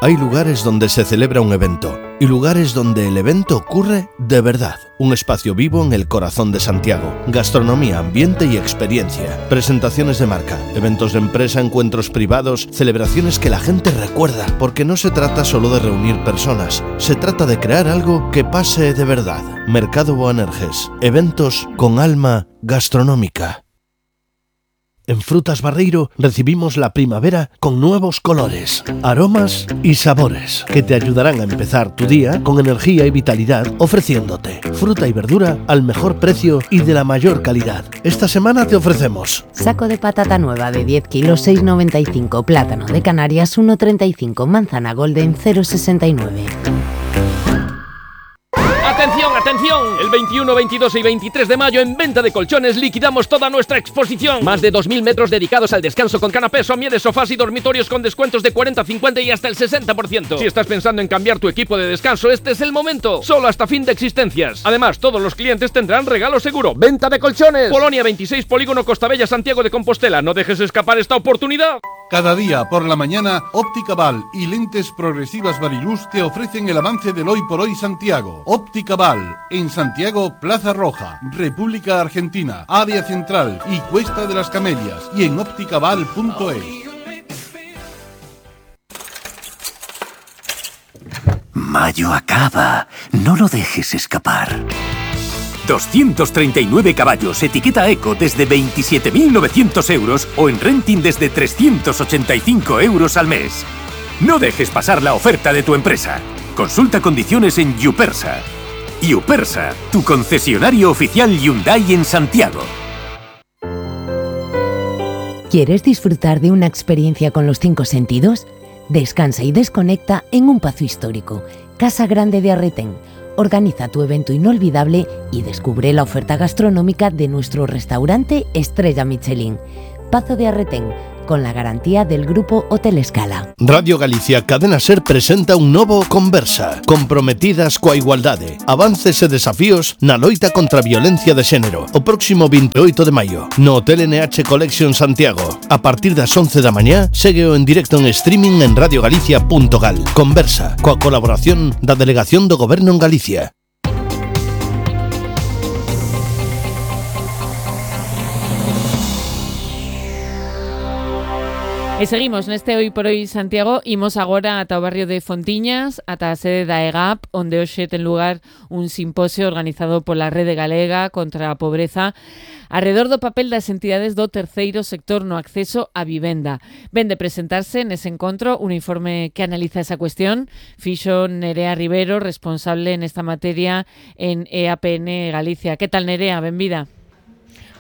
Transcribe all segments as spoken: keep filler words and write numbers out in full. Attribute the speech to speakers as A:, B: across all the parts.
A: Hay lugares donde se celebra un evento y lugares donde el evento ocurre de verdad. Un espacio vivo en el corazón de Santiago. Gastronomía, ambiente y experiencia. Presentaciones de marca, eventos de empresa, encuentros privados, celebraciones que la gente recuerda. Porque no se trata solo de reunir personas, se trata de crear algo que pase de verdad. Mercado Boanerges. Eventos con alma gastronómica. En Frutas Barreiro recibimos la primavera con nuevos colores, aromas y sabores que te ayudarán a empezar tu día con energía y vitalidad, ofreciéndote fruta y verdura al mejor precio y de la mayor calidad. Esta semana te ofrecemos
B: saco de patata nueva de diez kilos seis noventa y cinco, plátano de Canarias uno treinta y cinco, manzana golden cero sesenta y nueve.
C: ¡Atención, atención! El veintiuno, veintidós y veintitrés de mayo en Venta de Colchones liquidamos toda nuestra exposición. Más de dos mil metros dedicados al descanso con canapés, somieres, sofás y dormitorios con descuentos de cuarenta, cincuenta y hasta el sesenta por ciento. Si estás pensando en cambiar tu equipo de descanso, este es el momento. Solo hasta fin de existencias. Además, todos los clientes tendrán regalo seguro. Venta de Colchones. Polonia veintiséis, Polígono Costabella, Santiago de Compostela. No dejes escapar esta oportunidad.
D: Cada día por la mañana, Óptica Val y Lentes Progresivas Variluz te ofrecen el avance del Hoy por Hoy Santiago. Óptica Val, en Santiago, Plaza Roja, República Argentina, Área Central y Cuesta de las Camelias, y en ópticaval punto es.
E: Mayo acaba, no lo dejes escapar. doscientos treinta y nueve caballos, etiqueta Eco desde veintisiete mil novecientos euros o en renting desde trescientos ochenta y cinco euros al mes. No dejes pasar la oferta de tu empresa. Consulta condiciones en Yupersa. Yupersa, tu concesionario oficial Hyundai en Santiago.
B: ¿Quieres disfrutar de una experiencia con los cinco sentidos? Descansa y desconecta en un Pazo Histórico, Casa Grande de Arretén. Organiza tu evento inolvidable y descubre la oferta gastronómica de nuestro restaurante Estrella Michelin. Pazo de Arretén, con la garantía del Grupo Hotel Escala.
A: Radio Galicia Cadena Ser presenta un novo Conversa, comprometidas coa igualdade, avances e desafíos na loita contra a violencia de xénero. O próximo veintioito de maio, no Hotel N H Collection Santiago. A partir das once da mañá, ségueo en directo en streaming en radio galicia punto gal. Conversa, coa colaboración da Delegación do Goberno en Galicia.
F: E seguimos neste Hoy por Hoy Santiago. Imos agora ata o barrio de Fontiñas, ata a sede da E G A P, onde hoxe ten lugar un simposio organizado pola Rede Galega contra a Pobreza arredor do papel das entidades do terceiro sector no acceso á vivenda. Ven de presentarse nese encontro un informe que analiza esa cuestión. Fixo Nerea Rivero, responsable nesta materia en E A P N Galicia. Que tal, Nerea? Benvida.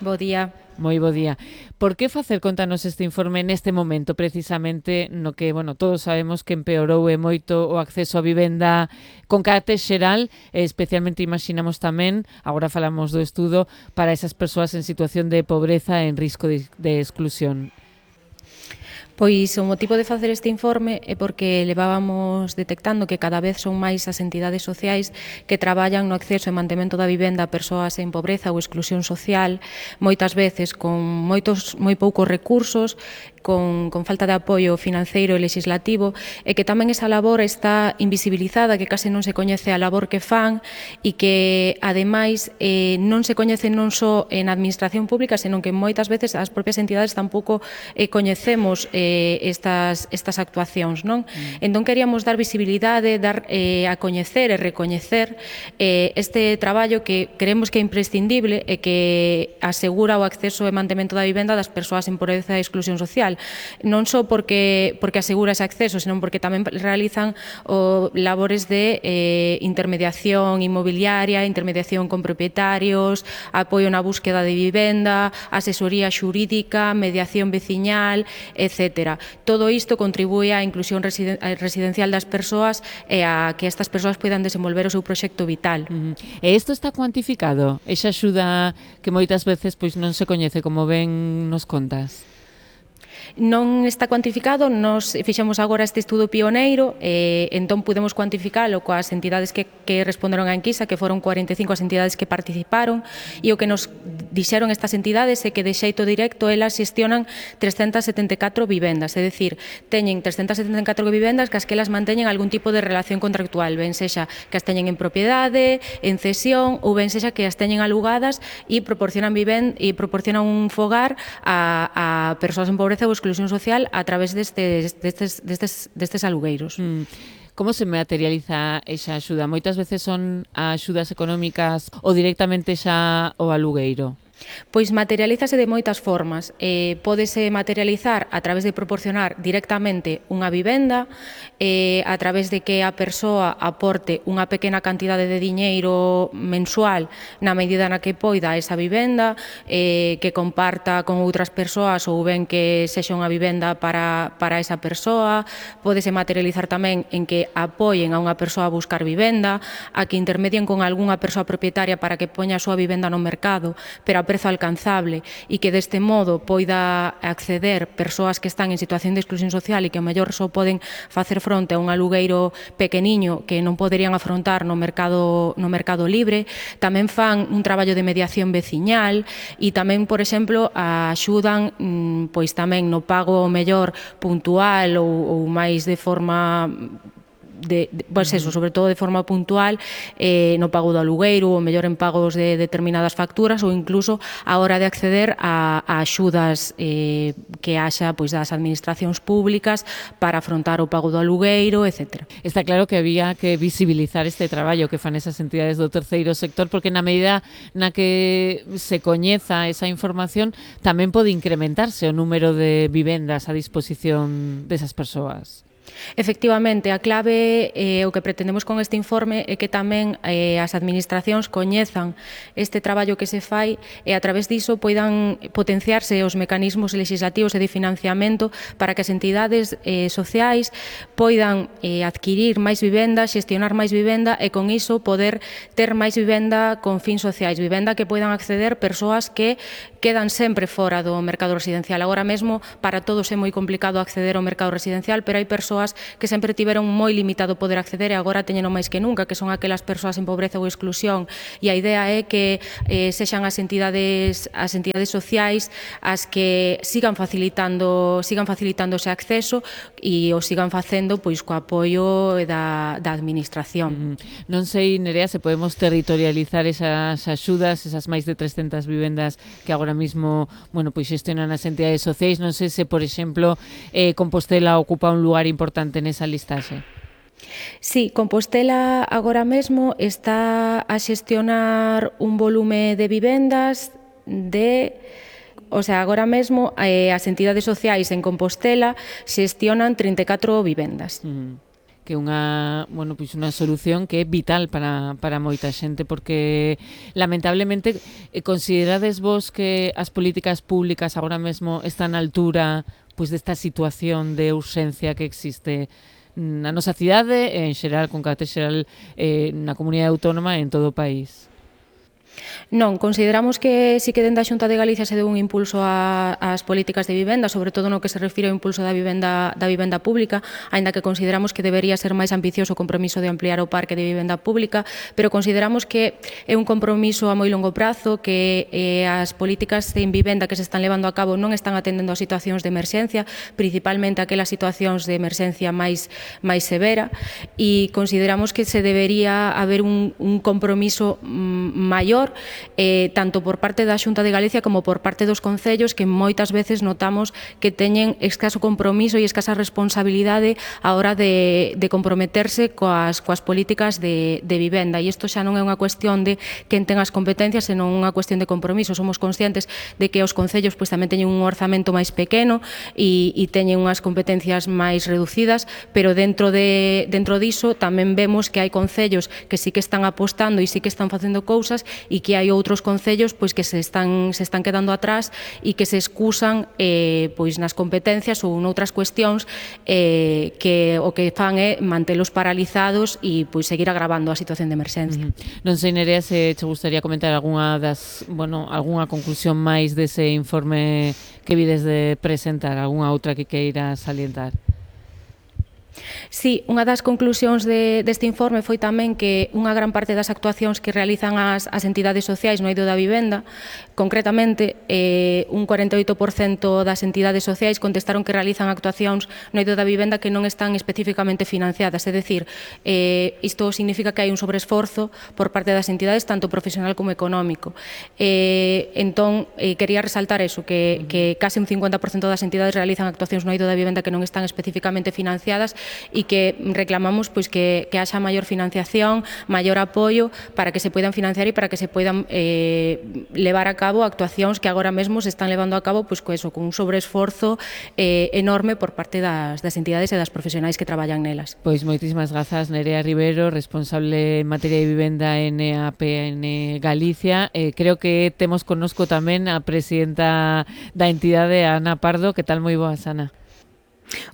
G: Bo día.
F: Moi bo día. Por que facer contanos este informe neste momento, precisamente no que, bueno, todos sabemos que empeorou e moito o acceso á vivenda con carácter xeral, e especialmente imaginamos tamén, agora falamos do estudo, para esas persoas en situación de pobreza e en risco de, de exclusión?
G: Pois o motivo de facer este informe é porque levábamos detectando que cada vez son máis as entidades sociais que traballan no acceso e mantemento da vivenda a persoas en pobreza ou exclusión social, moitas veces con moitos moi poucos recursos, con, con falta de apoio financeiro e legislativo, e que tamén esa labor está invisibilizada, que case non se coñece a labor que fan e que, ademais, eh, non se coñece non só en administración pública, senón que moitas veces as propias entidades tampouco eh, coñecemos eh, estas, estas actuacións, non? Mm. Entón queríamos dar visibilidade, dar eh, a coñecer e recoñecer eh, este traballo que creemos que é imprescindible e que asegura o acceso e mantemento da vivenda das persoas en pobreza e exclusión social. Non só porque, porque asegura ese acceso, senón porque tamén realizan o, labores de eh, intermediación inmobiliaria, intermediación con propietarios, apoio na búsqueda de vivenda, asesoría xurídica, mediación veciñal, etcétera. Todo isto contribúe á inclusión residen residencial das persoas e a que estas persoas poidan desenvolver o seu proxecto vital.
F: Uh-huh. E isto está cuantificado? Esa axuda que moitas veces pois non se coñece, como ben nos contas?
G: Non está cuantificado, nos fixemos agora este estudo pioneiro, e entón pudemos cuantificalo coas entidades que, que responderon á enquisa, que foron cuarenta e cinco as entidades que participaron, e o que nos dixeron estas entidades é que de xeito directo elas xestionan trescentas setenta e catro vivendas, é dicir, teñen trescentas setenta e catro vivendas que as que elas manteñen algún tipo de relación contractual, ben sexa que as teñen en propiedade, en cesión, ou ben sexa que as teñen alugadas e proporcionan viven e proporcionan un fogar a, a persoas en pobreza ou exclusión social a través destes, destes, destes, destes alugueiros.
F: Mm. Como se materializa esa axuda? Moitas veces son axudas económicas ou directamente xa o alugueiro?
G: Pois materialízase de moitas formas. Eh, pódese materializar a través de proporcionar directamente unha vivenda, eh, a través de que a persoa aporte unha pequena cantidade de diñeiro mensual na medida na que poida esa vivenda, eh, que comparta con outras persoas ou ben que sexa unha vivenda para, para esa persoa. Pódese materializar tamén en que apoien a unha persoa a buscar vivenda, a que intermedien con algunha persoa propietaria para que poña a súa vivenda no mercado, pero a prezo alcanzable, e que deste modo poida acceder persoas que están en situación de exclusión social e que ao mellor só poden facer fronte a un alugueiro pequeniño que non poderían afrontar no mercado, no mercado libre. Tamén fan un traballo de mediación veciñal e tamén, por exemplo, axudan pois tamén no pago ao mellor puntual ou, ou máis de forma de, de pois eso, sobre todo de forma puntual, eh, no pago do alugueiro, ou mellor en pagos de determinadas facturas, ou incluso a hora de acceder a, a axudas eh, que haxa pois das administracións públicas para afrontar o pago do alugueiro, etcétera.
F: Está claro que había que visibilizar este traballo que fan esas entidades do terceiro sector, porque na medida na que se coñeza esa información tamén pode incrementarse o número de vivendas a disposición desas persoas.
G: Efectivamente, a clave eh, o que pretendemos con este informe é que tamén eh, as administracións coñezan este traballo que se fai e a través diso poidan potenciarse os mecanismos legislativos e de financiamento para que as entidades eh, sociais poidan eh, adquirir máis vivenda, xestionar máis vivenda e con iso poder ter máis vivenda con fins sociais, vivenda que poidan acceder persoas que quedan sempre fora do mercado residencial. Agora mesmo para todos é moi complicado acceder ao mercado residencial, pero hai persoas que sempre tiveron moi limitado poder acceder e agora teñeno máis que nunca, que son aquelas persoas en pobreza ou exclusión, e a idea é que eh, sexan as entidades as entidades sociais as que sigan facilitando sigan facilitando ese acceso e o sigan facendo pois co apoio da, da administración.
F: Mm. Non sei, Nerea, se podemos territorializar esas axudas, esas máis de trescentas vivendas que agora mismo, bueno, pois xestionan as entidades sociais. Non sei se, por exemplo, eh, Compostela ocupa un lugar importante nesa listaxe.
G: Sí, Compostela agora mesmo está a xestionar un volume de vivendas de... O sea, agora mesmo eh, as entidades sociais en Compostela xestionan trinta e catro vivendas.
F: Mm. Que é unha, bueno, pois unha solución que é vital para, para moita xente, porque lamentablemente considerades vos que as políticas públicas agora mesmo están á altura pois desta situación de urxencia que existe na nosa cidade, en xeral, con carácter xeral, eh, na comunidade autónoma e en todo o país?
G: Non, consideramos que si que dende a Xunta de Galicia se deu un impulso a, ás políticas de vivenda, sobre todo no que se refire ao impulso da vivenda, da vivenda pública, aínda que consideramos que debería ser máis ambicioso o compromiso de ampliar o parque de vivenda pública, pero consideramos que é un compromiso a moi longo prazo, que eh, as políticas en vivenda que se están levando a cabo non están atendendo a situacións de emerxencia, principalmente aquelas situacións de emerxencia máis, máis severa, e consideramos que se debería haber un, un compromiso mm, maior Eh, tanto por parte da Xunta de Galicia como por parte dos concellos, que moitas veces notamos que teñen escaso compromiso e escasa responsabilidade a hora de, de comprometerse coas, coas políticas de, de vivenda, e isto xa non é unha cuestión de quen ten as competencias, senón unha cuestión de compromiso. Somos conscientes de que os concellos pois, tamén teñen un orzamento máis pequeno e, e teñen unhas competencias máis reducidas, pero dentro, de, dentro diso tamén vemos que hai concellos que sí que están apostando e sí que están facendo cousas e e que hai outros concellos pois que se están se están quedando atrás e que se excusan eh, pois nas competencias ou noutras cuestións eh, que o que fan é mantelos paralizados e pois seguir agravando a situación de emerxencia.
F: Uh-huh. Non sei, Nerea, se te gustaría comentar algunha das, bueno, algunha conclusión máis dese informe que vides de presentar, algunha outra que queira salientar?
G: Sí, unha das conclusións de, deste informe foi tamén que unha gran parte das actuacións que realizan as, as entidades sociais no eido da vivenda, concretamente eh, un cuarenta e oito por cento das entidades sociais contestaron que realizan actuacións no eido da vivenda que non están especificamente financiadas, é dicir, eh, isto significa que hai un sobreesforzo por parte das entidades tanto profesional como económico. Eh, entón, eh, quería resaltar eso, que, que case un cincuenta por cento das entidades realizan actuacións no eido da vivenda que non están especificamente financiadas e que reclamamos pois que, que haxa maior financiación, maior apoio para que se poidan financiar e para que se poidan eh, levar a cabo actuacións que agora mesmo se están levando a cabo pois co eso, con un sobreesforzo eh, enorme por parte das, das entidades e das profesionais que traballan nelas.
F: Pois moitísimas grazas, Nerea Rivero, responsable en materia de vivenda en A P N Galicia. Eh, creo que temos connosco tamén a presidenta da entidade, Ana Pardo. Que tal? Moi boas, Ana.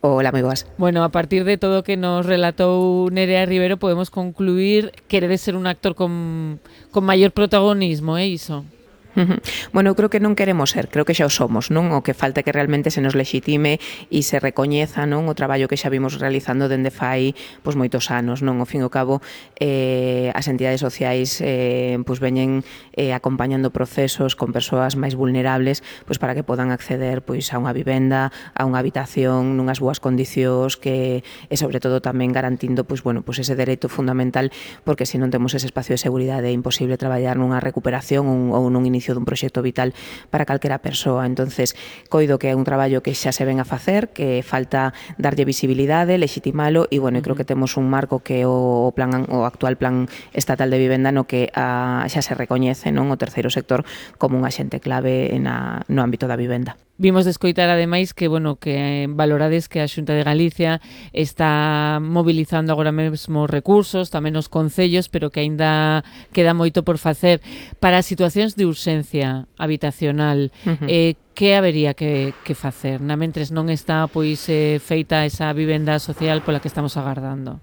H: Hola, moi boas.
F: Bueno, a partir de todo o que nos relatou Nerea Rivero podemos concluir que queredes ser un actor con, con maior protagonismo, é iso?
H: Uh-huh. Bueno, eu creo que non queremos ser, creo que xa o somos, non? O que falta é que realmente se nos lexitime e se recoñeza, non, o traballo que xa vimos realizando dende fai pois moitos anos, non? Ao fin e ao cabo, eh, as entidades sociais eh, pois veñen eh, acompañando procesos con persoas máis vulnerables pois para que podan acceder pois a unha vivenda, a unha habitación nunhas boas condicións que e sobre todo tamén garantindo pois bueno, pois ese dereito fundamental, porque se non temos ese espacio de seguridade é imposible traballar nunha recuperación un, ou nun inicio dun proxecto vital para calquera persoa. Entonces, coido que é un traballo que xa se ven a facer, que falta darlle visibilidade, legitimalo e, bueno, uh-huh. creo que temos un marco que o plan o actual plan estatal de vivenda no que a, xa se recoñece, non, o terceiro sector como un axente clave na, no ámbito da vivenda.
F: Vimos de escoitar ademais que, bueno, que valorades que a Xunta de Galicia está mobilizando agora mesmo recursos, tamén os concellos, pero que aínda queda moito por facer para situacións de urxencia habitacional. Uh-huh. Eh, que habería que, que facer? Na mentres non está pois eh, feita esa vivenda social pola que estamos agardando.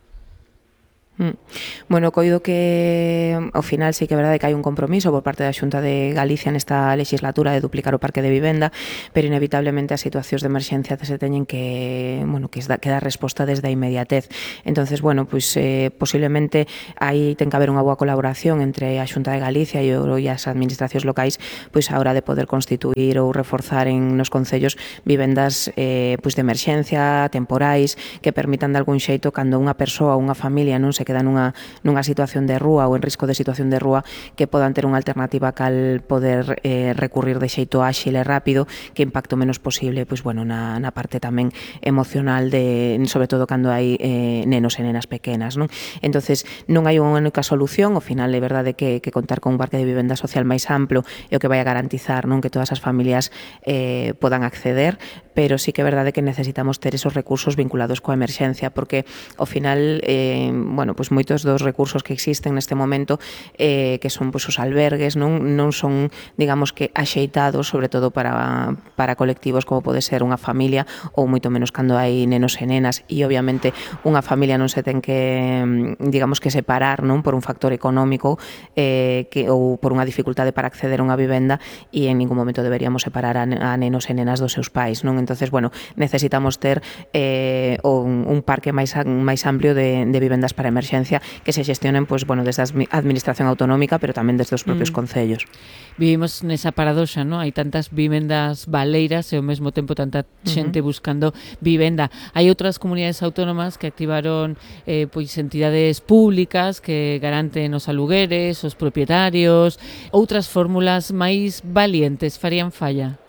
H: Bueno, coido que ao final sí que é verdade que hai un compromiso por parte da Xunta de Galicia nesta legislatura de duplicar o parque de vivenda, pero inevitablemente as situacións de emerxencia se teñen que, bueno, que, que dar resposta desde a inmediatez. Entonces, bueno, pois eh, posiblemente aí ten que haber unha boa colaboración entre a Xunta de Galicia e, o, e as administracións locais pois a hora de poder constituir ou reforzar en nos concellos vivendas eh, pois de emerxencia, temporais, que permitan de algún xeito cando unha persoa ou unha familia non se queda nunha, nunha situación de rúa ou en risco de situación de rúa, que podan ter unha alternativa cal poder eh, recurrir de xeito áxil e rápido, que impacto menos posible pois, bueno, na, na parte tamén emocional, de, sobre todo cando hai eh, nenos e nenas pequenas. Non? Entonces, non hai unha única solución, ao final é verdade que, que contar con un parque de vivenda social máis amplo é o que vai a garantizar, non, que todas as familias eh, podan acceder, pero sí que é verdade que necesitamos ter esos recursos vinculados coa emerxencia, porque ao final, eh, bueno, pois moitos dos recursos que existen neste momento eh, que son pois os albergues non non son, digamos que axeitados sobre todo para para colectivos como pode ser unha familia ou moito menos cando hai nenos e nenas, e obviamente unha familia non se ten que, digamos que separar, non, por un factor económico eh, que ou por unha dificultade para acceder a unha vivenda, e en ningún momento deberíamos separar a, a nenos e nenas dos seus pais, non? Entonces, bueno, necesitamos ter eh, un, un parque máis máis amplio de, de vivendas para emerxencia que se xestionen pois, bueno, desde a administración autonómica, pero tamén desde os propios mm. concellos.
F: Vivimos nesa paradoxa, non? Hai tantas vivendas baleiras e ao mesmo tempo tanta xente uh-huh. buscando vivenda. Hai outras comunidades autónomas que activaron eh, pois entidades públicas que garanten os alugueres, os propietarios, outras fórmulas máis valientes farían falla?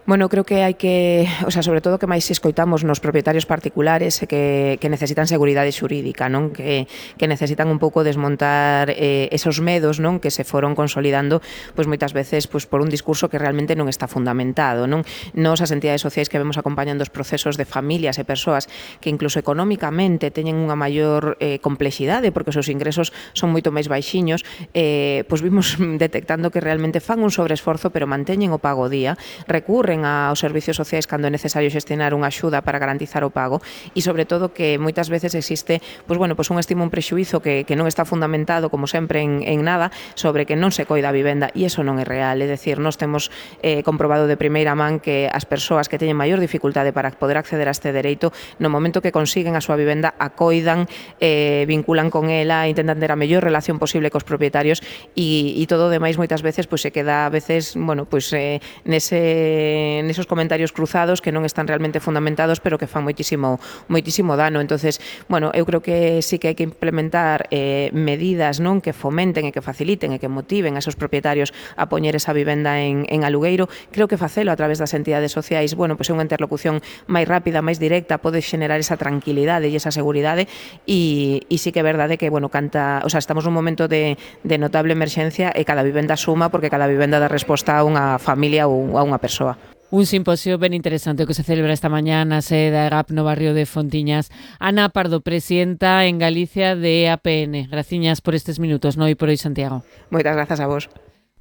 H: Bueno, creo que hai que, o sea, sobre todo que máis escoitamos nos propietarios particulares que, que necesitan seguridade xurídica, non? Que, que necesitan un pouco desmontar eh, esos medos, non? Que se foron consolidando, pois moitas veces pois por un discurso que realmente non está fundamentado, non? Nos as entidades sociais que vemos acompañando os procesos de familias e persoas que incluso económicamente teñen unha maior eh, complexidade porque os seus ingresos son moito máis baixiños, eh, pois vimos detectando que realmente fan un sobreesforzo pero manteñen o pago día, recurren aos servicios sociais cando é necesario xestionar unha axuda para garantizar o pago e sobre todo que moitas veces existe pois bueno, pois un estima un prexuízo que, que non está fundamentado como sempre en, en nada sobre que non se coida a vivenda e iso non é real, é dicir, nós temos eh, comprobado de primeira man que as persoas que teñen maior dificultade para poder acceder a este dereito no momento que consiguen a súa vivenda a coidan, eh, vinculan con ela, intentan ter a mellor relación posible cos propietarios e, e todo o demais moitas veces pois se queda a veces, bueno, pois eh, nese nesos comentarios cruzados que non están realmente fundamentados, pero que fan moitísimo moitísimo dano. Entonces, bueno, eu creo que sí que hai que implementar eh, medidas, non, que fomenten e que faciliten e que motiven a esos propietarios a poñer esa vivenda en, en alugueiro. Creo que facelo a través das entidades sociais, bueno, pois é unha interlocución máis rápida, máis directa, pode xenerar esa tranquilidade e esa seguridade e, e sí que é verdade que, bueno, canta, o sea, estamos nun momento de, de notable emerxencia e cada vivenda suma porque cada vivenda dá resposta a unha familia ou a unha persoa.
F: Un simposio ben interesante que se celebra esta mañá na sede da E G A P no barrio de Fontiñas. Ana Pardo, presidenta en Galicia de A P N. Graciñas por estes minutos, no Hoy por Hoy Santiago.
H: Moitas grazas a vos.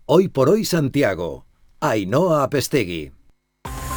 I: Hoy por Hoy Santiago. Ainhoa Apestegui.